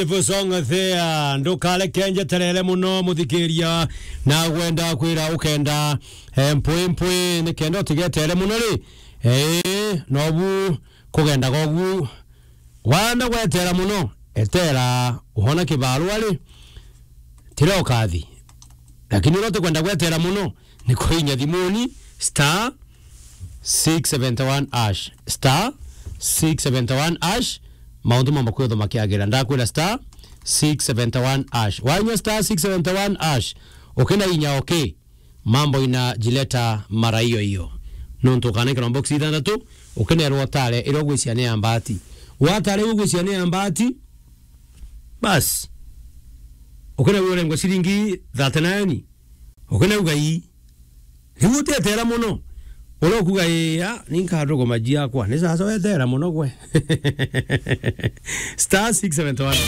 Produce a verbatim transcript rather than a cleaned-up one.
Beautiful song there. Ndukareke njeterere muno, muthikiria, na gwenda kwira ukenda, eh, mpwi mpwi, ni kenda utigetere muno ri. Eh, nobu kugenda gogu. Wanda gwetera muno, etera uhona kibarua ri. Tira ukathi. Lakini uria utikwenda gwetera muno, ni kuinya thimuni, star six seventy one hash. Star six seventy one hash. Maundu mamba kwithwa makiagira. Ndakwira star six seventy one hash. Wainya star six seventy one hash. Ukina inya okay. Mambo inajileta mara hiyo hiyo. Nontu ukanaikirwa box ithanthatu, ukinerwa utare iria ugwiciria ni ya mbati. Watare iria ugwiciria ni ya mbati, bas. Ukinerwa urengwe ciringi thirty nine. Ukinauga ii. Riu utetera muno. Uria ukuga ii, a, ni nkanduguma jiakwa. Ni sasa wetera muno gwe. Star six seventy one.